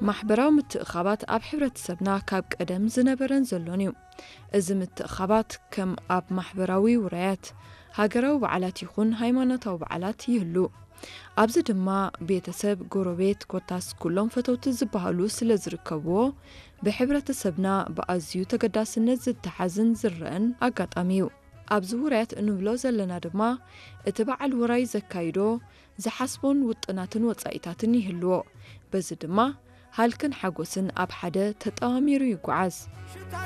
ማሕበራዊ ምትእኻባት ኣብ ሕብረተሰብና ካብ ቀደም ዝነበረን ዘሎን እዩ። እዚ ምትእኻባት ከም ኣብ ማሕበራዊ ውራያት፣ ሃገራዊ በዓላት ይኹን ሃይማኖታዊ በዓላት ይህሉ። ኣብዚ ድማ ቤተሰብ፣ ጎረቤት፣ ኮታስ ኩሎም ፈተውቲ ዝበሃሉ ስለ ዝርከብዎ፣ ብሕብረተሰብና ብኣዝዩ ተገዳስነት ዝተሓዝን ዝረአን ኣጋጣሚ እዩ። ኣብዚ ውራያት እንብሎ ዘለና ድማ፣ እቲ በዓል ውራይ ዘካይዶ፣ ዝሓስቦን ውጥናትን ወጻኢታትን ይህልዎ። በዚ ድማ፣ ሃልክን ሓጎስን ኣብ ሓደ ተጠማሚሩ ይጓዓዝ።